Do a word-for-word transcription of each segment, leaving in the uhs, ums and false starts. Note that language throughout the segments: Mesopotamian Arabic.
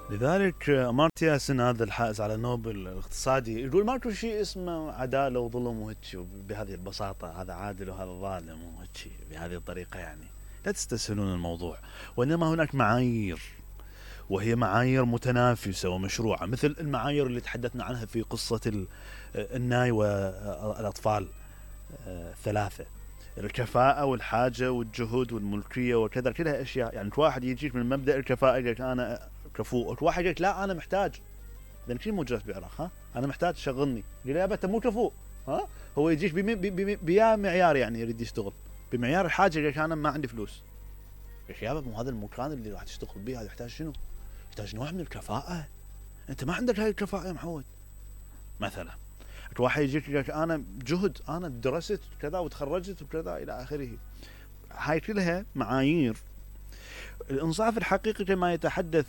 لذلك أمارتيا سن هذا الحائز على نوبل الاقتصادي يقول ماكو شيء اسمه عدالة وظلم وهيك بهذه البساطة، هذا عادل وهذا ظالم وهيك بهذه الطريقة. يعني لا تستسهلون الموضوع، وإنما هناك معايير، وهي معايير متنافسة ومشروعة، مثل المعايير اللي تحدثنا عنها في قصة الناي والأطفال الثلاثة، الكفاءة والحاجة والجهود والملكية وكذا، كلها أشياء. يعني واحد يجيك من مبدأ الكفاءة يقولك أنا كفؤ، واحد يقولك لا أنا محتاج، لأن كل موجود بعراق ها أنا محتاج شغلني، يقول يا أنت مو كفؤ، ها هو يجيك بيا معيار، يعني يريد يشتغل بمعيار الحاجة، يقولك أنا ما عندي فلوس. يا شباب مو هذا المكان اللي راح تشتغل به، هذا يحتاج شنو؟ يحتاج نوع من الكفاءة. أنت ما عندك هاي الكفاءة يا محمود. مثلا واحد يجيك يقولك أنا جهد، أنا درست كذا وتخرجت وكذا إلى آخره. هاي كلها معايير. الإنصاف الحقيقي كما يتحدث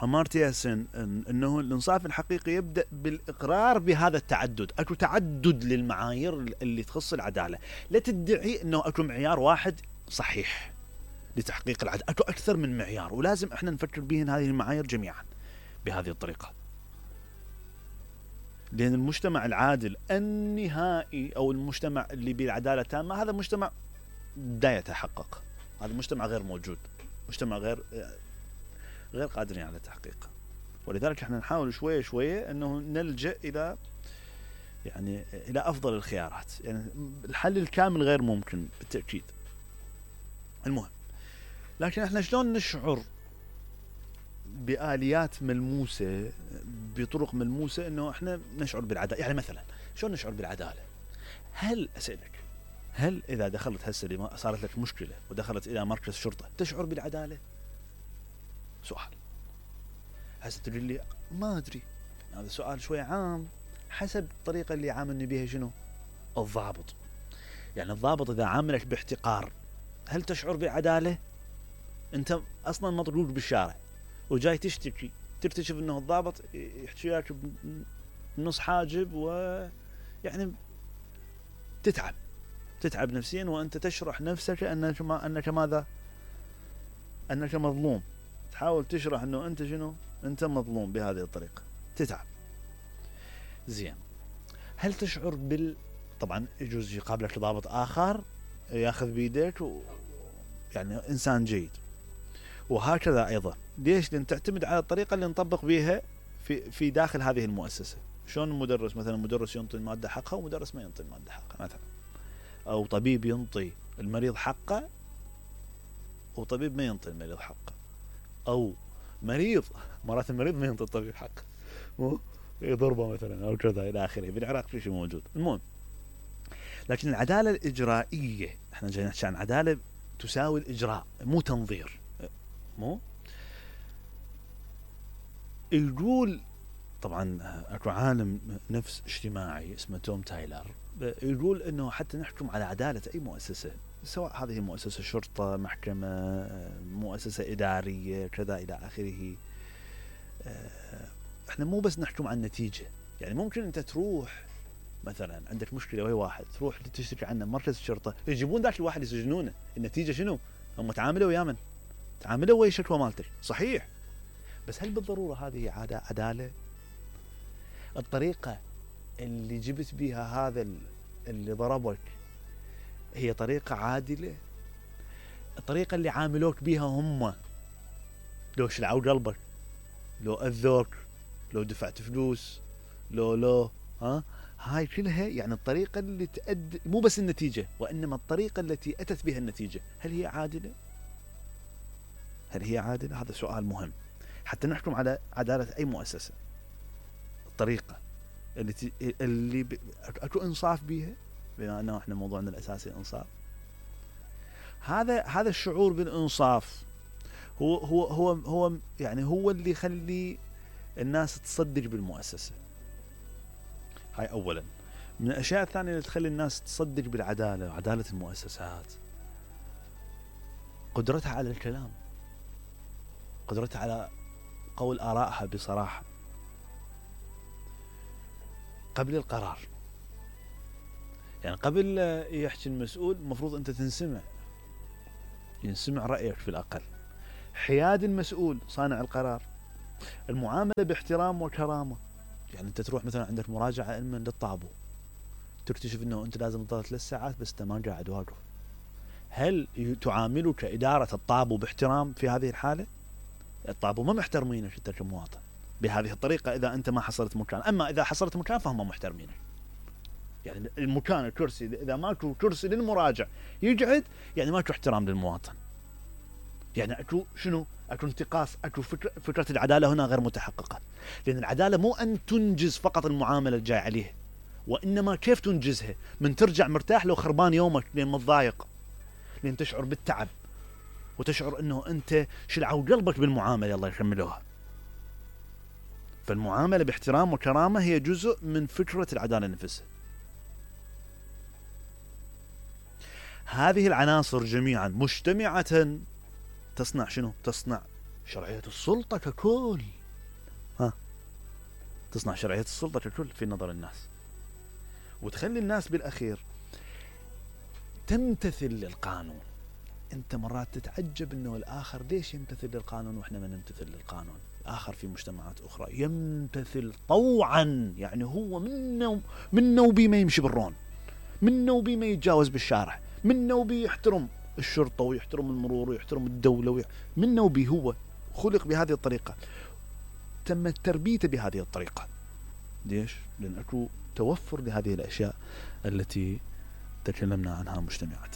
أمارتيا سن إن أنه الإنصاف الحقيقي يبدأ بالإقرار بهذا التعدد. أكو تعدد للمعايير اللي تخص العدالة، لا تدعي أنه أكو معيار واحد صحيح لتحقيق العدالة، أكو أكثر من معيار، ولازم إحنا نفكر بهن هذه المعايير جميعا بهذه الطريقة. لأن المجتمع العادل النهائي أو المجتمع اللي بالعدالة التامة هذا مجتمع لا يتحقق، هذا المجتمع غير موجود، مجتمع غير غير قادرين على تحقيقه. ولذلك احنا نحاول شوية شوية انه نلجأ الى يعني الى افضل الخيارات. يعني الحل الكامل غير ممكن بالتأكيد. المهم، لكن احنا شلون نشعر بآليات ملموسة، بطرق ملموسة انه احنا نشعر بالعدالة؟ يعني مثلا شلون نشعر بالعدالة؟ هل اسألك، هل اذا دخلت هسه صارت لك مشكلة ودخلت الى مركز شرطة تشعر بالعدالة؟ سؤال. هسه تقول لي ما ادري، هذا سؤال شوي عام، حسب الطريقة اللي عاملني بها شنو الضابط. يعني الضابط اذا عاملك باحتقار هل تشعر بالعدالة؟ انت اصلا مطلوب بالشارع وجاي تشتكي، تكتشف انه الضابط يحكي لك بنص حاجب، ويعني تتعب تتعب نفسيا، وانت تشرح نفسك انك ما انك ماذا انك مظلوم، تحاول تشرح انه انت شنو انت مظلوم بهذه الطريقة، تتعب. زين، هل تشعر بال طبعا يجوز يقابلك ضابط اخر ياخذ بيدك و... يعني انسان جيد، وهكذا ايضا. ليش؟ لان تعتمد على الطريقة اللي نطبق بها في في داخل هذه المؤسسة. شلون المدرس مثلا، مدرس ينطي المادة حقها ومدرس ما ينطي المادة حقها مثلا، او طبيب ينطي المريض حقه وطبيب ما ينطي المريض حقه، او مريض مرات المريض ما ينطي الطبيب حقه، مو يضربه مثلا او كذا الى اخره. بالعراق في شيء موجود. المهم، لكن العدالة الإجرائية، احنا جاي نحكي عن عدالة تساوي الإجراء مو تنظير. مو يقول طبعا اكو عالم نفس اجتماعي اسمه توم تايلر، يقول انه حتى نحكم على عدالة اي مؤسسة، سواء هذه مؤسسة شرطة، محكمة، مؤسسة إدارية كذا إلى آخره، احنا مو بس نحكم عن النتيجة. يعني ممكن انت تروح مثلا عندك مشكلة وهي واحد، تروح تشتكي عنه مركز الشرطة، يجيبون ذاك الواحد يسجنونه. النتيجة شنو؟ هم تعاملوا ويا من؟ تعاملوا ويا الشكوى مالتك، صحيح، بس هل بالضرورة هذه عدالة؟ الطريقة اللي جبت بها هذا اللي ضربك هي طريقة عادلة؟ الطريقة اللي عاملوك بها هم، لو شلعوا قلبك، لو أذوك، لو دفعت فلوس، لو لو ها هاي كلها يعني الطريقة اللي تؤدي، مو بس النتيجة وإنما الطريقة التي أتت بها النتيجة، هل هي عادلة؟ هل هي عادلة؟ هذا سؤال مهم حتى نحكم على عدالة أي مؤسسة. الطريقة اللي ت... اللي ب... أكو إنصاف بيها، بما أنه إحنا موضوعنا الأساسي إنصاف. هذا هذا الشعور بالإنصاف هو هو هو هو يعني هو اللي يخلي الناس تصدق بالمؤسسة. هاي أولا. من الأشياء الثانية اللي تخلي الناس تصدق بالعدالة وعدالة المؤسسات، قدرتها على الكلام، قدرتها على قول آرائها بصراحة قبل القرار. يعني قبل يحكي المسؤول المفروض أنت تنسمع، ينسمع رأيك في الأقل. حياد المسؤول صانع القرار المعاملة باحترام وكرامة. يعني انت تروح مثلا عندك مراجعة علما للطابو، تكتشف انه انت لازم تظل ثلاث ساعات بس انت ما قاعد واقف، هل تعاملك إدارة الطابو باحترام في هذه الحالة؟ الطابو ما محترمينك انت كمواطن بهذه الطريقة إذا أنت ما حصلت مكان. أما إذا حصلت مكان فهم محترمينك. يعني المكان الكرسي إذا ماكو كرسي للمراجع يقعد، يعني ماكو احترام للمواطن، يعني أكو شنو؟ أكو انتقاص، أكو فكرة, فكرة العدالة هنا غير متحققة. لأن العدالة مو أن تنجز فقط المعاملة الجاي عليه، وإنما كيف تنجزها، من ترجع مرتاح لو خربان يومك لأن متضايق، لأن تشعر بالتعب وتشعر أنه أنت شلعوا قلبك بالمعاملة الله يكملوها. فالمعاملة باحترام وكرامة هي جزء من فكرة العدالة نفسها. هذه العناصر جميعا مجتمعة تصنع شنو؟ تصنع شرعية السلطة ككل. ها تصنع شرعية السلطة ككل في نظر الناس، وتخلي الناس بالأخير تمتثل للقانون. انت مرات تتعجب انه الاخر ليش يمتثل للقانون واحنا ما نمتثل للقانون. الاخر في مجتمعات اخرى يمتثل طوعا، يعني هو منه منه بي ما يمشي بالرون، منه بي ما يتجاوز بالشارع، منه بي يحترم الشرطة ويحترم المرور ويحترم الدولة وي... منه بي هو خلق بهذه الطريقة، تم تربيته بهذه الطريقة. ليش؟ لأن أكو توفر لهذه الأشياء التي تكلمنا عنها مجتمعات.